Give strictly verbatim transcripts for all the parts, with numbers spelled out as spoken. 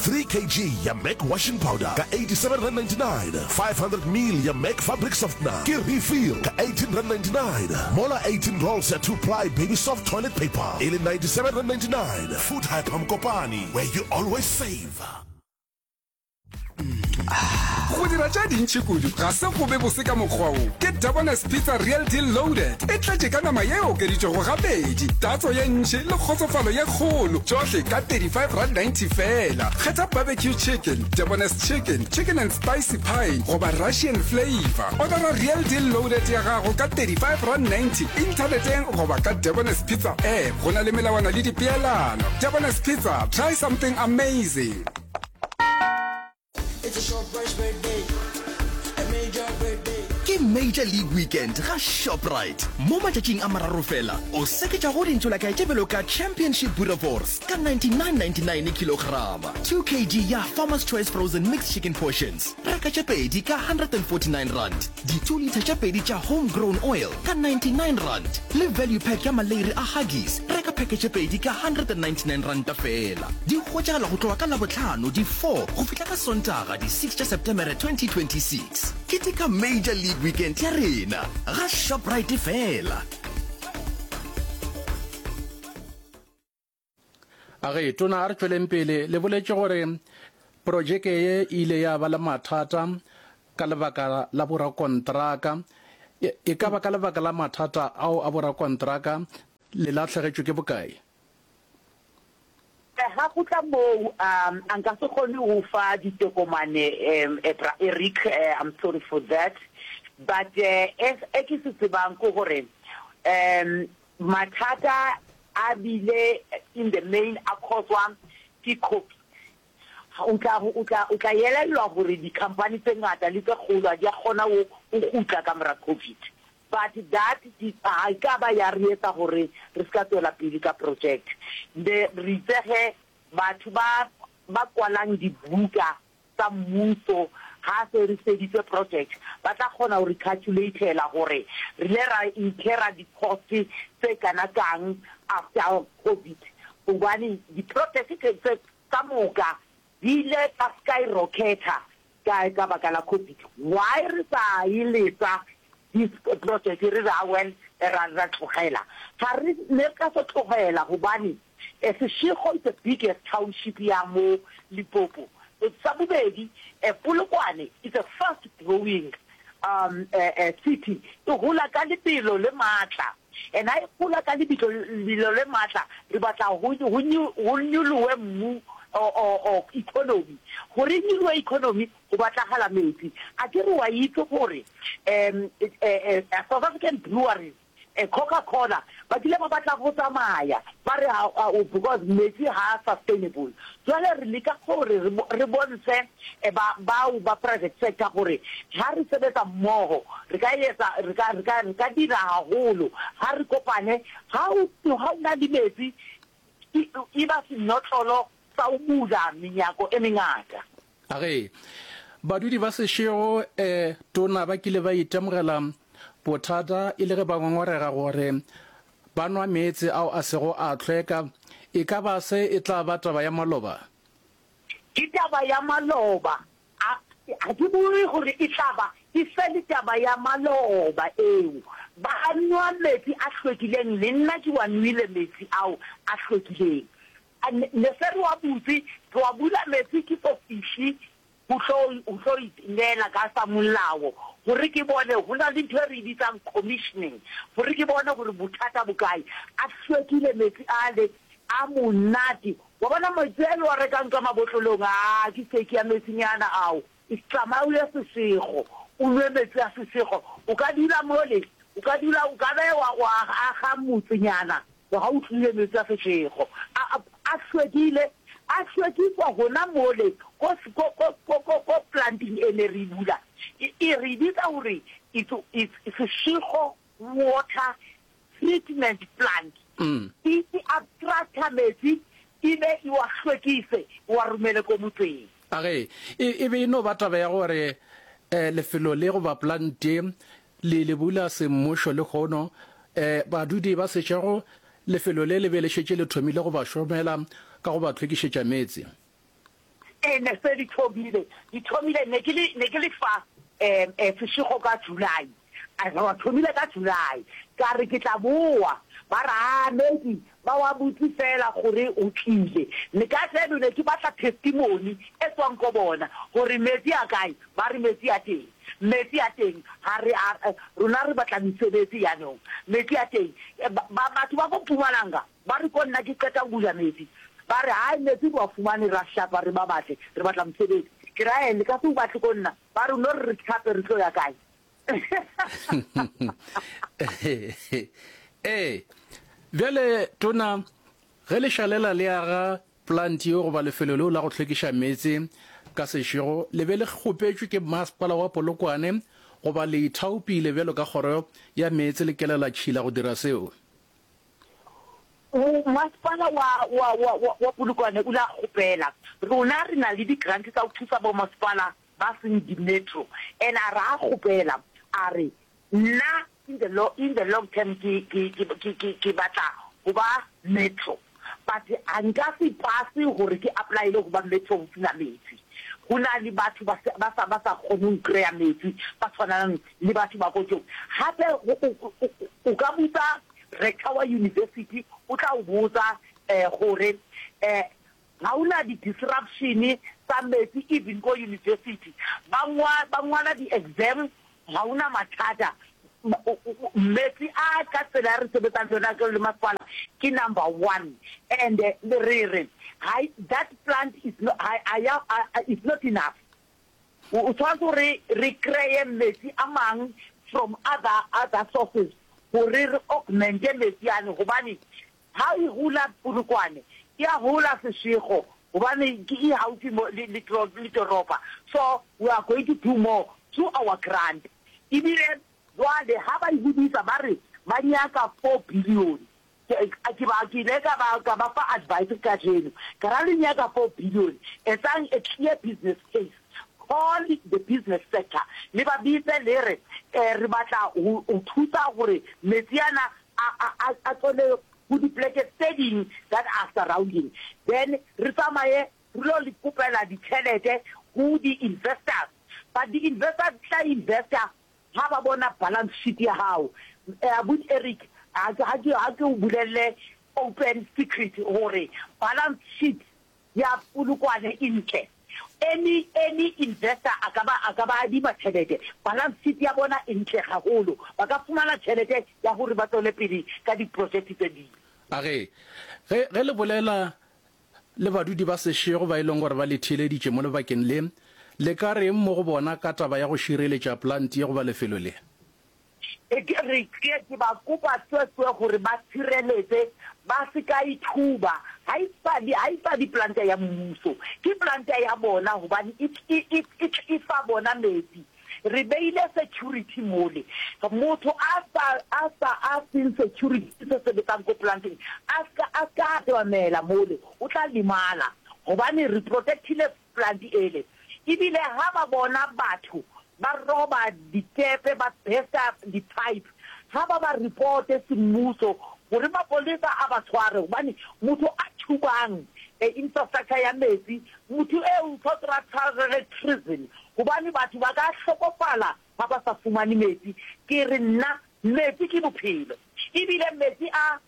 Three kg ya Mac washing powder ka eighty-seven rand ninety-nine, five hundred mil ya Mac fabric softener ke refill ka eighteen rand ninety-nine, mola eighteen rolls ya two ply baby soft toilet paper e le ninety-seven rand ninety-nine. Food Hyper Mokopane, where you always save. Go dira tše dintši kudu ga se go be bose ka mokgwa wo. Ke Debonair's Pizza Real Deal Loaded. E tletše ka nama ye e okeditšwego gabedi, tatso ye ntši le kgotsofalo ye kgolo, tšohle ka thirty-five rand ninety feela. Kgetha barbecue chicken, Debonair's chicken, chicken and spicy pie goba Russian flavour. Odara Real Deal Loaded ya gago ka thirty-five rand ninety inthaneteng goba ka Debonair's Pizza app. Go na le melawana le dipeelano. Debonair's Pizza, try something amazing. Ke Major League Weekend ga Shoprite. Mo matšatšing a mararo fela, o seketša go dintšolakae tše bjalo ka Championship Boerewors ka ninety-nine ninety-nine kilograma, two kg ya Farmer's Choice Frozen Mixed Chicken Portions, reka tše pedi ka hundred and forty-nine rand, di two litre tše pedi tša Home Grown Oil ka ninety-nine rand, le value pack ya maleiri a Huggies, reka pheke tše pedi ka hundred and ninety-nine ranta fela. Di hwetšagala go tloga ka Labohlano di four go fihla ka Sontaga di six tša Setemere twenty twenty-six. Keteka Major League Weekend ya rena ga Shoprite fela. A ge, Tona, a re tšweleng pele. Le boletše gore projeke ye e ile ya ba le mathata ka lebaka la borakontraka. E ka ba ka lebaka la mathata ao a borakontraka le lahlegetšwe ke bokae? Ga go tla moo, a nka se kgone go fa ditokomane, Bra Eric, I'm sorry for that, but e ke se tsebang ke gore mathata a bile in the main a cause-wa ke Covid. O tla, o tla, o tla elellwa gore di-company tse ngata le tse kgolo ha di a kgona go kgutla ka mora Covid. But that ga e ka ba ya re etsa gore re se ka tswela pele ka project. Ne re itse ge batho ba ba kwalang dibuka tsa mmuso ha se re feditse project ba tla kgona ho re calculator-ela gore re ile ra incur-a di-cost tse kana kang after Covid. Hobane di-project tse ka moka di ile tsa skyrocket-a ka ka baka la Covid. Why re sa e lesa this project re re ah well ra ra tlogela? Ga re ne re ka se tlogela gobane Seshego is the biggest township ya mo Limpopo. Sa bobedi, Polokwane is a fast growing um city, e gola ka lebelo le maatla. And ha e gola ka lebitlo lebelo le maatla, re batla go go nyolohe mmu or or economy. Gore e nyolohe economy go batlagala metsi. A ke re wa itse gore um South African Breweries, Coca-Cola ba kile ba batla go tsamaya ba re because metsi ha a sustainable. Jwale re leka gore re bontshe ba bao ba private sector gore ha re sebetsa mmoho re ka etsa re ka re ka re ka dira haholo ha re kopane. Ha o ha o na le metsi e ba senotlolo sa ho bula menyako e mengata. A ge badudi ba Seshego e tona ba kile ba itemogela bothata e le ge ba ngongorega gore ba nwa meetse ao a sego a hlweka, e ka ba se e tla ba taba ya maloba? Ke taba ya maloba. A ga ke bue gore e tla ba, e fele taba ya maloba eo. Ba nwa metsi a hlwekileng, le nna ke wa nwele metsi ao a hlwekileng. A ne, ne se re wa butse, re wa bula metsi ke so fihle go tlo, go tlo ineela ka sa molao gore ke bone, go na le ntho e re e bitsang commissioning, gore ke bone gore bothata bo kae. A hlwekile metsi ale, a monate. Wa bona metsi a le wa rekang ka mabotlolong, aa ke fake ya metsinyana ao. Tsamaya o ye Seshego, o nwe metsi a Seshego. O ka dula mole, o ka dula, o ka be wa, wa aga motsenyana ga o tlile metsi a Seshego. A, a, a hlwekile, a hlwekiswa gona mole ko, ko, ko, ko, ko, ko planting e ne re e bula. E, e re bitsa gore it's, it's Seshego Water Treatment Plant. E, e abstracta metsi e be e wa hlwekise, e wa romele ko motseng. A ge e, e be e no ba taba ya gore eh, lefelo le goba plant ye le le bula semmušo lehono, eh, badudi ba Seshego lefelo le le be le šetše le thomile go ba šomela ka go ba hlwekišetša meetse. Ee, ne se di thomile, di thomile, ne ke le, ne ke le fa um Seshego ka July, a re thomile ka July, ka re ke tla boa, ba re aa Medi ba wa botse fela gore o tlile. Le kajeno ne ke batla testimony e tswang ko bona gore metsi a kae, ba re metsi a teng, metsi a teng, ha re a, rona re batla mesebetsi yanong, metsi a teng. Ba, batho ba ko Mpumalanga Ba re ko nna ke qeta ho bula metsi, ba re, Hai, metsi re wa fumane, ra hlapa, re ba batle, re batla mosebetsi. Ke re, Ae, le ka se o batle ko nna. Ba re, No re re hlape, re tlo ya kae? Ee. Bjale, Tona, ge le šalela le aga plant yeo goba lefelo leo la go hlwekiša meetse ka sešego, le be le kgopetšwe ke Masepala wa Polokwane goba le ithaopile bjalo ka Kgoro ya Meetse le Kelelatšhila go dira seo? Masepala wa, wa, wa, wa, wa Polokwane o ile a kgopela. Rona re na le di-grant tsa go thusa bomasepala ba seng di-metro. And a re a kgopela, a re, Nna in the lo, in the long term ke, ke, ke, ke, ke, ke batla go ba metro. But a nka se pase gore ke apply-ele go ba metro go sena metsi. Go na le batho ba, ba sa, ba sa kgoneng go kry-a metsi, ba tshwanang le batho ba ko Joburg. Gape o, o, o, o ka botsa Rector wa university o tla o botsa gore ga o na di disruption tsa metsi even ko university ba ba ngwala di exam ga o na mathata metsi a ka tsela ya re sebetsang le yona le masepala ke number one and re re that plant is not, is not enough. O tshwanetse gore re kreye metsi a mang from other other sources gore re augmente metsi ane gobane ha e hula Polokwane e a hula Seshego gobane ke e haufi mo le le le toropa so we are going to do more through our grant ebile jwale ha ba e hodisa ba re ba nyaka four billion Ke ba, ke ile ka ba, ka ba fa advice kajeno, ka ra le nyaka four billion, etsang a clear business case, call the business sector, le ba bitse le re, re batla ho, ho thusa hore metsi ana a, a, a, a tswele ho dipleke tse ding that are surrounding, then re tsamaye re lo le kopela ditjhelete ho di-investors, but di-investors di tla investa Ha ba bona balance sheet ya hao, abuti Eric, ha ke, ha ke, ha ke o bolelle open secret hore balance sheet ya Polokwane e ntle. Any, any investor a ka ba, a ka ba adima tjhelete. Balance sheet ya bona e ntle haholo. Ba ka fumana tjhelete ya hore ba tswele pele ka di-project tse ding. A re, Ge, ge le bolela le badudi ba sešego ba e leng gore ba le theeleditše mo lebakeng le, le ka reng mo go bona ka taba ya go šireletša plant ye goba lefelo le? Ke re, ke, ke ba kopa tswetswe gore ba tshireletse, ba se ka e thuba. Ha e sa le, ha e sa le planta ya mmuso. Ke planta ya bona gobane e, e, e, e, e fa bona metsi. Re beile security mole. Motho a sa, a sa, a seng security se sebetsang ko planteng, a ska, a ska atamela mole, o tla lemala. Gobane re protectile plant ele. Ebile ha ba bona batho ba roba ditepe, ba bursta di-pipe, ha ba ba reporte semmuso gore mapolesa a ba tshware. Gobane motho a thubang infrastructure ya metsi, motho eo o tshwanetse a tshwarelwe prison. Gobane batho ba ka hlokofala ha ba sa fumane metsi. Ke re nna metsi ke bophelo. Ebile metsi a,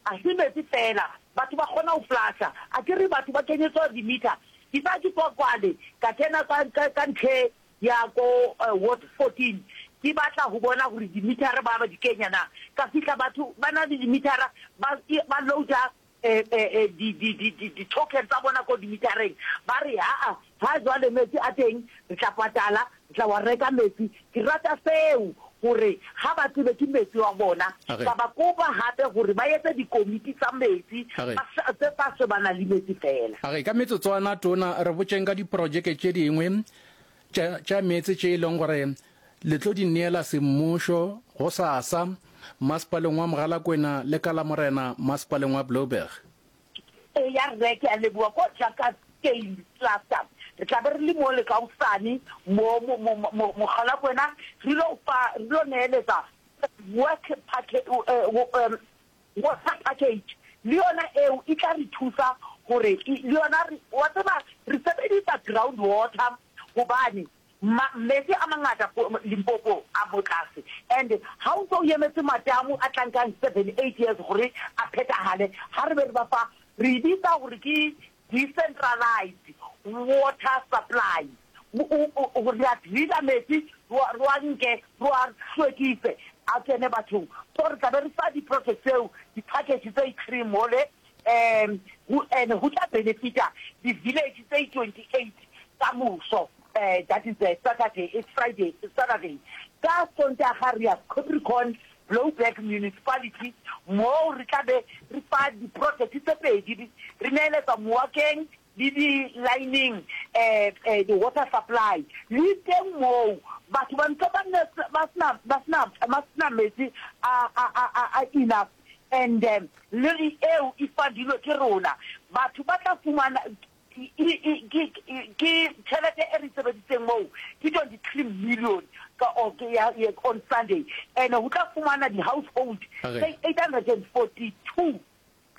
a se metsi feela, batho ba kgona ho flasha. Akere batho ba kenyetswa di-meter. Ke sa ke tswa kwale, ka kena ka, ka, ka ntlhe ya ko ward fourteen, ke batla ho bona hore di-meter-a ba ba di kenya na. Ka fihla batho ba na le di-meter-a, ba, ba loader di-token tsa bona ko di-meter-eng, ba re haa, ha jwale metsi a teng, re tla patala, re tla wa reka metsi. Ke rata seo, hore ha ba tsebe ke metsi wa bona. Ka ba kopa hape hore ba etse dikomiti tsa metsi tse tla shebana le metsi feela. A re, Ka metsotswana, Tona, re botšeng ka diprojeke tše dingwe tša, tša meetse tše e leng gore le tlo di neela semmušo gosasa Masepaleng wa Mogalakwena le ka Lamorena Masepaleng wa Blouberg. Eya rre, ke a leboga. Ko Jackastein Cluster re tla be re le mo le ka hosane mo, mo, mo, mo Mogalakwena re lo fa, re lo neeletsa work package, water package, le yona eo e tla re thusa gore le yona re, wa tseba re sebedisa ground water gobane ma, metsi a mangata Limpopo a mo tlase and ha o ntse o emetse matamo a tla nkang seven eight years gore a phethahale ha re be re ba fa re e bitsa gore ke decentralized water supply re a driller metsi re wa nke re wa hlwekise a kene bathong so re tla be re fa di-project tseo di-package tse three mole um and ho tla benefita di-village tse twenty-eight ka moso uh, that is uh, Saturday, it's Friday, it's Saturday. Ka Sontaga re ya Capricorn Blouberg Municipality moo re tla be re fa di-project tse pedi re neeletsa Moakeng le di-lining eh, eh, di-water supply le teng moo batho ba ntse ba ne ba sena ba sena ba sena metsi a a a a enough and um, le eo e fundilwe ke rona batho ba tla fumana ke tšhelete e re sebeditseng moo ke twenty-three million ka on Sunday and ho tla fumana di-household tse eight hundred and forty-two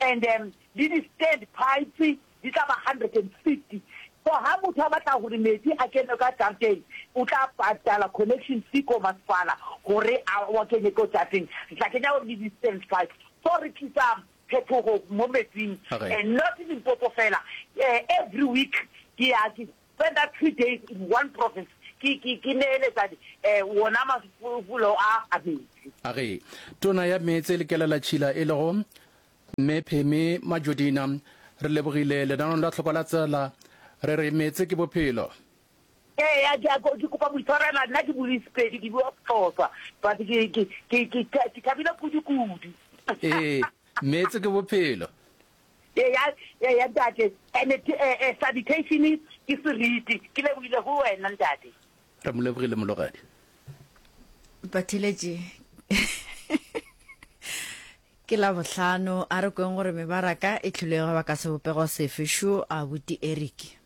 and um, le di-stand pipes di tla ba hundred and fifty so ha motho a batla gore metsi a kene ka jareteng o tla patala connection fee ko masepala gore a wa kenye ko jareteng re tla kenya le di-stand pipes so re tlisa phetogo mo metsing and not Limpopo fela uh, every week ke ya ke spend three days in one province ke ke ke neeletsa eh wona mafulo a a metsi a ge tona ya meetse le kelela tšhila e lego mme Pheme Majodina re lebogile lenaneong la tlhoko la tsela re re meetse ke bophelo ee ya ke kopa boitshwarela nna ke bue Sepedi ke bua Xhosa but ke ke ke ke ke thabile kudu kudu ee meetse ke bophelo ya ya ntate and eh sanitation ke seriti ke lebogile go wena ntate re mo lebogile mologadi Batheletše ke la bohlano a re kweng gore mebaraka e tlhole go ba ka sebopego sefe šo a buti Eric.